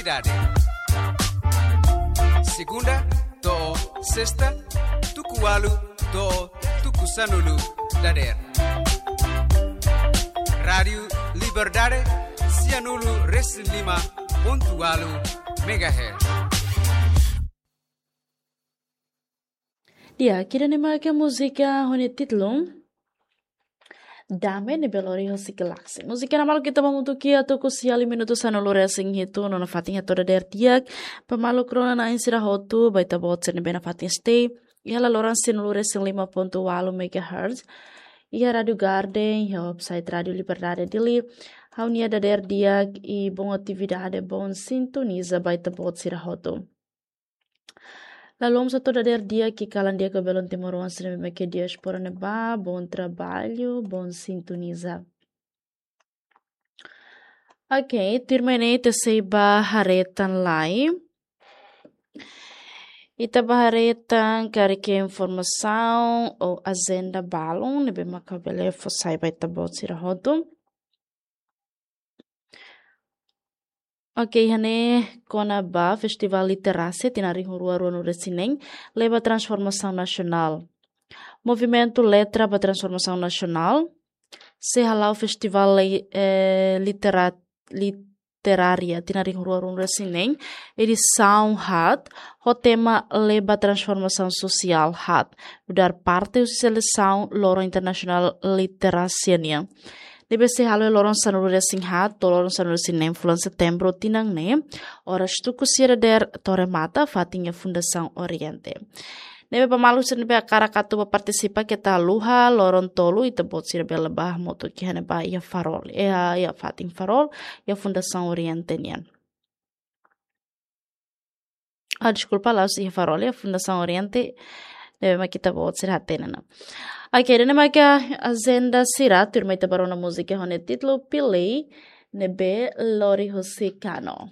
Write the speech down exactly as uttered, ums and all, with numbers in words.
Dade. Segunda to'o sesta, tuku ualu to'o tuku sanulu dadeer. Rádiu Liberdade, sianulu resin lima pontu ualu megahertz. Di'ak, ida-ne'e mak múzika ho nia títulu Dame, ne'ebé lori hosi Galaxy. Múzika ne'e maluk ita hamutuk iha tuku sia liu minutu sanulu resin hitu, no nafatin hato'o dadeer di'ak ba maluk rona-na'in sira hotu, ba ita-boot sira ne'ebé nafatin stay iha laloran sianulu resin lima pontu ualu megahertz, iha Rádiu Garden, iha website Rádiu Liberdade Dili. Ha'u-nia dadeer di'ak i bom atividade, bom sintoniza ba ita-boot sira hotu. Laloos hato'o dadeer di'ak ka kalan di'ak ba belun timoroan sira ne'ebé mak iha diáspora ne'ebá, bom trabalho, bom sintoniza. Ok, tuirmai ne'e ita sei ba haree tan lai. Ita ba haree tan karik informasaun ou ajenda balun ne'ebé mak ha'u bele fó sai ba ita-boot sira hotu. Ok, iha ne'e kona-ba Festival Literasia tinan rihun rua ruanulu resin neen, leba transformasaun nasionál. Movimentu Letra ba Transformasaun Nasionál sei hala'o Festival Lei-, eh, Litera-, Literária tinan rihun rua ruanulu resin neen, edisaun haat, ho tema Leba Transformasaun Sosiál Haat, nu'udar parte husi selesaun Loron Internasionál Literasia nian, ne'ebé sei halo iha loron sanulu resin haat to'o loron sanulu resin neen fulan Setembru tinan ne'e, oras tuku sia dadeer to'o remata, fatin iha Fundasaun Oriente. Ne'ebé ba maluk sira ne'ebé hakarak atu ba partisipa keta haluha, loron tolu ita-boot sira bele ba hamutuk iha ne'ebá, iha Farol, iha, iha fatin Farol, iha Fundasaun Oriente nian. Ah, deskulpa, la'ós iha Farol, iha Fundasaun Oriente, ne'ebé mak ita-boot sira hatene ona. Ok, ida-ne'e mak ajenda sira, tuirmai ita ba rona múzika ho nia títulu Pilei, ne'ebé lori hosi Kano.